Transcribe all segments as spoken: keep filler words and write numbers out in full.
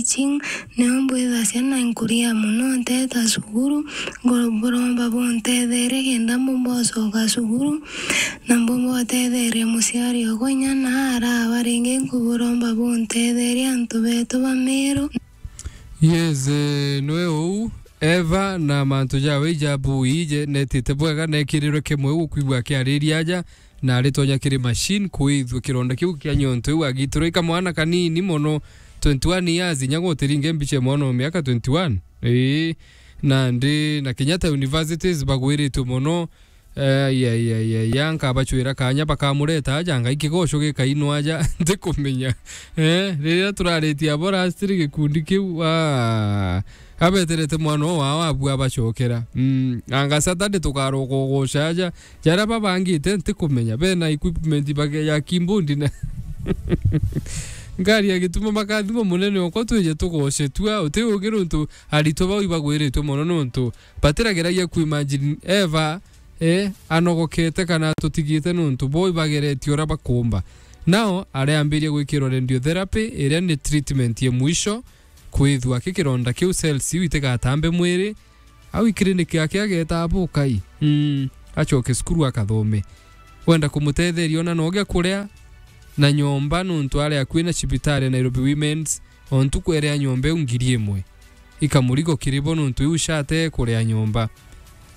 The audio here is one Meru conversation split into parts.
teaching, nio mbwithacia na nkuria mono nteta cukuru, ngo-, buromba buntetherie kenda mbumba gucoka cukuru, na mbumba gutetheria muciari okwa inya na araba ringi nkuburomba buntetherie antu betu ba Meru. Yes, eh, nwe uu, Eva na mantu jawe ija bui je netite bwega nekirirwe kimwe gukwigua akiariria aja, na aritonya kiri machine kwithua kironda kiu kia nyonto iu agitirwe ikamwana kanini mono, twenty one years, inya gutiringe mbicha mwana o miaka twenty one. Ii, nandi na Kenyatta Universities bagwiritwe mono. Eh, ya, ya, ya, ya, nkabachwira kanya bakamureta aja, ngai kigoco gikainwa aja, ntikumenya. Eh, riria turaritie abo last gikundi kiu, ah, abeterete mwana o wao abua abacokera. Mm, anga Saturday tukaroka ugoca aja, jaria babangite ntikumenya. Bena equipment bage ya kimbundi na ngari ya gituma makathima munene okwa twije tugoce tua, uti ugi nontu aritwa bau ibagwiritwe mono nontu batirageragia kuimagine Eva, eh, anogokete kana atutigite nontu bo ibageretie uria bakumba. Nao areambiria gwikirwa radiotherapy, iria ni treatment ya mwisho, kwithua ki kironda kiu cells iu itigatambe mwiri, au i clinic yake ageeta abukai. Mm, acoke cukuru akathome. Wenda kumutetheria ona no gia kuria na nyomba nontu ari akui na cibitari ya Nairobi Women's, o ntuku ere ya nyomba iu ngiri imwe. Ikamurigo kiri bo nontu iu shate kuria nyomba.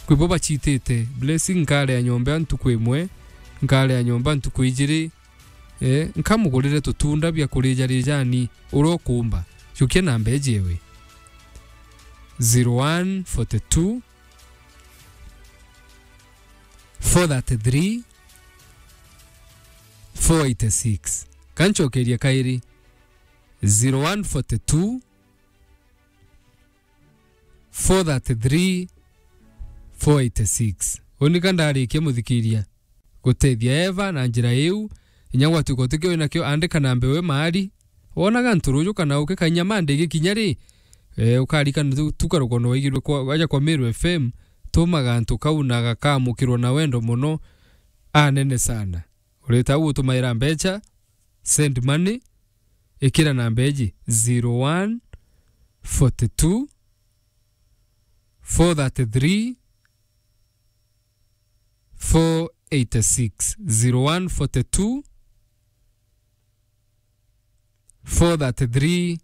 Kwi bo bachitite, Blessing nkaria nyomba ntuku imwe, nkaria nyomba ntuku ijiri, eh, nkamugurire tutunda bia kurija rijani, uria ukumba. Jukia namba iji ewe. Zero one forty two, four thirty three, four eighty six. Kanchokeria kairi, zero one forty two, four thirty three, four eighty six. Uni ka ndarikia muthikiria gutethia Eva na njira iu, inya gwatuika utikio winakio, andika namba iwe maari. Wonaga nturuju kana uki kainya Monday gikinya ri, eh, ukarikana tu, tuka rukono waigirwe kwa, waja kwa Meru F M, tuma gantu kau na gakamukirwa na wendo mono, anene sana. Urita u utumaira mbecha, send money, ikira namba iji, zero one forty two, four thirty three, four eighty six, zero one forty two, four thirty three,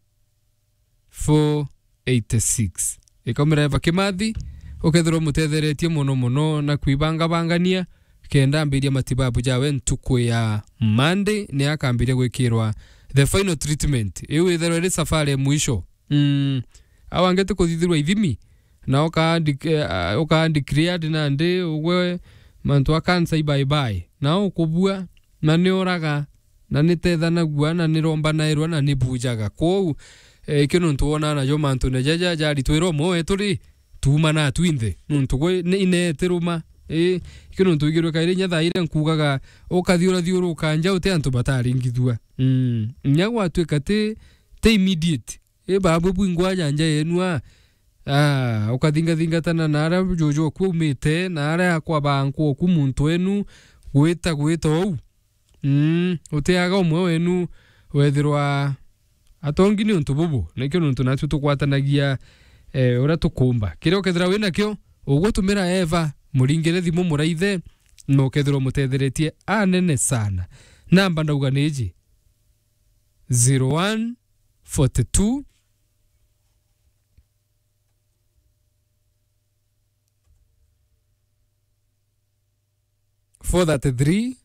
four eighty six. Ikaumira Eva Kimathi, ukethirwa umutetheretie mono mono na kwibangabangania, kenda ambiria matibabu jawe ntuku ya Monday, ni akambiria gwikirwa the final treatment. Iu itherwa iri safari ya mwisho. Mm. Au angi ti kuthithirwa ithimi, na uka-, eh, uka declared nandi ugwe mantu a cancer i bye bye. Na ukubua, na ni uraga, na ni tethanagua, na ni rombanairwa, na ni bujaga. Kwou, eh, ikio nontu wonaa najo mantune jaja jaritwirwa umwe wetu ri, tuuma na twinthe. Nontu gwe ni ineetiruma. Ii, ikio nontu wigirwe kairi inya thaire nkugaga, ukathiurathiuruka nja uti antu bataringithua. Mm. Inya gwatuika ti, ti immediate. I babu bwingwa aja nja yenu a, ah, ukathingathingatana na aria juju oku aumite, na aria akwa bankwa oku muntu wenu, gwita, gwita ou. Mm, utiaga umwe wenu wethirwa atongi ni untu bubu, nikio nuntu natwi tukwatanagia, eh, uria tukumba. Kiria ukethira winakio, ugutumira Eva, muringire thimu muraithe, na ukethirwa umutetheretie anene sana. Namba ndauga ni iji, zero one forty two, four thirty three,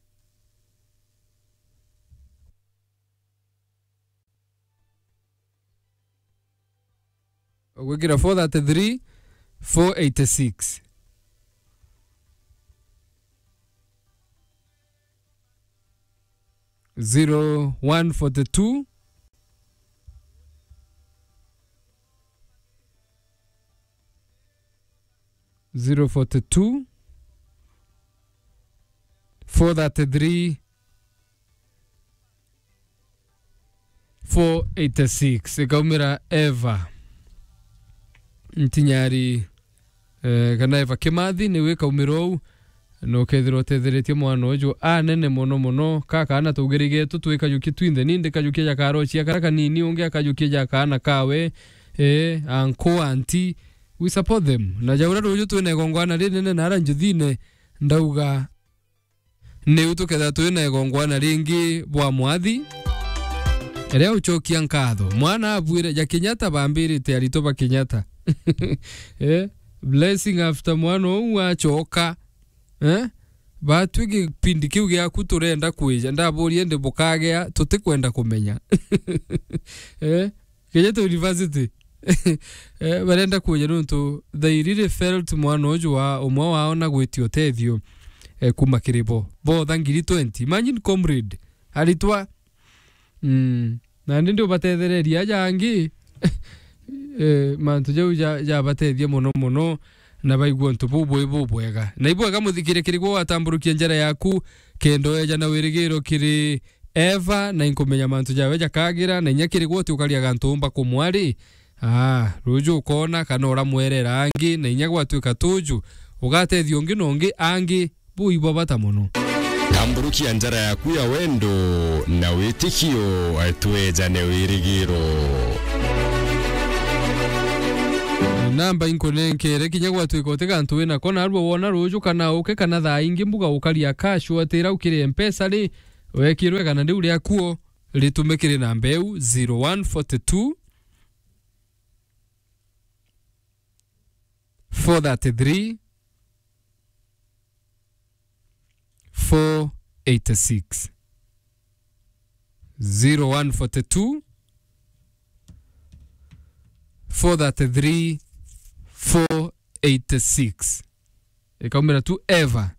ugwikira four thirty three, four eighty six. Zero one forty two, zero forty two, four thirty three, four eighty six. Ikaumira Eva Ntinyari, eh, kana Eva Kimathi, niwe ikaumira ou. Na ukethirwa utetheretie mwana uju anene mono mono, ka kaana tugirigetu twikajukia twinthe, ni ndikajukia ja karocia karia kanini, ungi akajukia ja kaana kawe, eh, uncle, auntie. We support them. Na ja uria ruju twina igongwana rinene na ara njuthine, ndauga, niu tukethira twina igongwana ringi bwa mwathi, ria ucokia nkatho. Mwana abuire, ja Kenyatta bambirite aritwa ba Kenyatta. Eh, blessing after mwana uu acoka. Eh? Batwi gipindi kiu giaku turenda kwija, ndaburie ndi bukagea, tutikwenda kumenya. Eh? Kenyatta University. Eh, barenda kwija nontu they really felt mwana uju wa umwe wao na gwitia utethio, eh, kuma kiri bo. Botha ngiri twenty. Imagine, comrade, aritwa. Mm. Nandi ndi ubatethereria aja angi, eh, mantu jau ja-, jabatethia mono mono, na baigua untu bubui bubwega. Na ibwega muthikire kiri gwe watamburukia njara yaku, kenda weja na wirigiro kiri Eva, na inkumenya mantu jawe jakagira, na inya kiri gwe uti ukaria gantu umba kumwari. Ah, ruju ukona kana uramwerera angi, na inya gwatuika tuju, ugatethia ungi na ungi angi, bui bwa bata mono. Tamburukia njara yaku ya wendo na witikio, twejane wirigiro. Namba inkunenkere kinya gwatuika uti gantu wina ko, narua wona ruju kana uke kana thaa ingi mbuga ukaria cash, watira ukiri Mpesa ri, wekirwe kana riu riakuo ritumikire namba iu, zero one forty two, four thirty-three, four eighty-six. Zero one forty two, four thirty-three, four eighty-six. Ikaumira tu Eva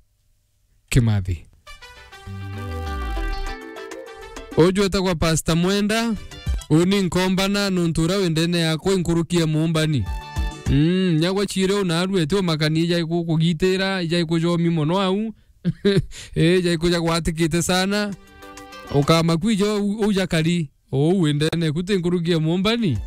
Kimathi. Uju etagwa Pastor Mwenda, uni nkombana nontu uria wi ndene yakwa inkuruki ya muumbani. Mm, nyagwa chire unaru eti umakani ija ikukugitira, ija ikujomi mono au. Eh, ija ikuja gwatikite sana. Ukamaku ijo u-, uja kari. Ou wi ndene ku ti nkuruki ya muumbani.